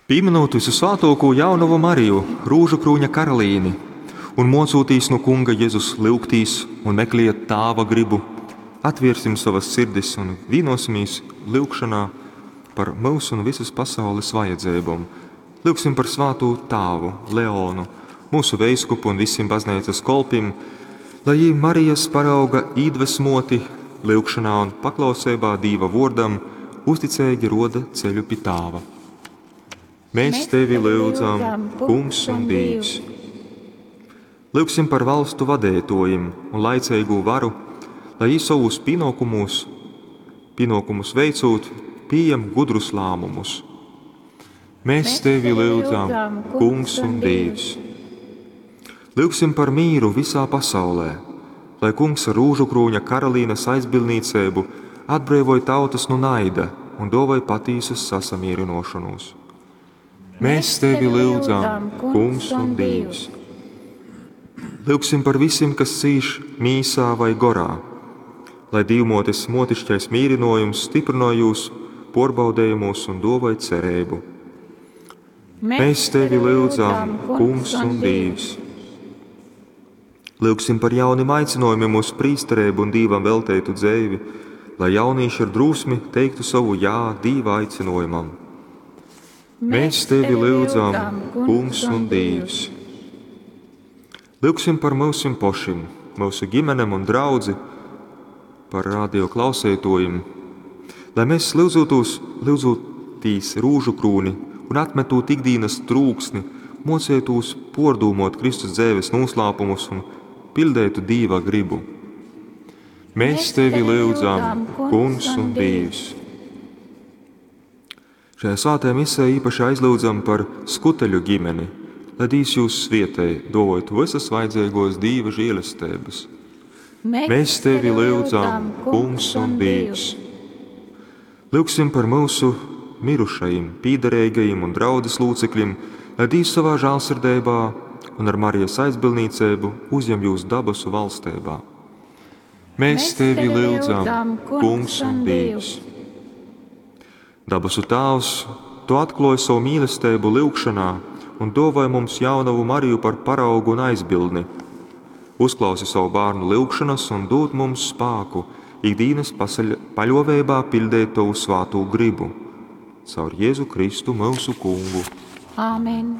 Pīminūt visusvātōkū jaunovu Mariju, rūžukrūņa karalīni, un mocūtīs nu Kunga Jezus lyugtīs un mekliet Tāva gribu, atviersim sovas sirdis un vīnosimīs lyugšanā par myusu un visas pasaules vajadzeibom. Lyugsim par svātū tāvu Leonu, mūsu veiskupu un visim bazneicas kolpim, lai jī Marijas parauga īdvesmoti lyugšanā un paklauseibā Dīva vōrdam uzticeigi roda ceļu pi Tāva. Mēs tevi lyudzam, Kungs un Dīvs. Lyugsim par valstu vadeitōjim un laiceigū varu, lai jī sovus pienōkumus veicūt, pieņem gudrus lēmumus. Mēs tevi lyudzam, Kungs un Dīvs. Lyugsim par mīru visā pasaulē, lai Kungs ar rūžukrūņa karalīnes aizbildnīceibu atbreivoj tautas nu naida un dovoj patīsu sasamierinošanos. Mēs tevi lyudzam, Kungs un Dīvs. Lyugsim par visiem, kas cīš mīsā vai gorā, lai Dīvmōtes motišķais mīrinojums stiprināj jūs porbaudējumos un dovoj cerību. Mēs tevi lyudzam, Kungs un Dīvs. Lyugsim par jaunim aicinojumiem uz prīsterību un Dīvam velteitu dzeivi, lai jaunīši ar drūsmi teiktu savu jā Dīva aicinojumam. Mēs tevi lyudzam, Kungs un Dīvs. Lyugsim par myusim pošim, myusu ģimenem un draudzi, par radio klausētojiem, lai mēs lyudzūtīs rūžu krūni un atmetot ikdienas trūksni, mocētos pordūmot Kristus dzēves noslēpumus un pildētu Dīva gribu. Mēs tevi lyudzam, Kungs un Dīvs. Šajā svētajā misē īpaši aizlūdzam par skuteļu ģimeni, lai Dīvs jūs svietēj, dovojot visas vajadzīgos Dīva žēlestības. Mēs tevi lyudzam, Kungs un Dīvs. Lūgsim par mūsu mirušajiem, pīdarīgajiem un draudzes locekļiem, lai Dīvs savā žēlsirdībā un ar Marijas aizbildnīcību uzņem jūs dabasu valstībā. Mēs tevi lyudzam, Kungs un Dīvs. Dabasu Tāvs, Tu atklāji savu mīlestību lyugšanā un dāvāji mums jaunavu Mariju par paraugu un aizbildni. Uzklausi savu bērnu lyugšanas un dod mums spāku ikdienas paļoveibā pildīt Tavu svātū gribu. Caur Jēzu Kristu mūsu Kungu. Āmen.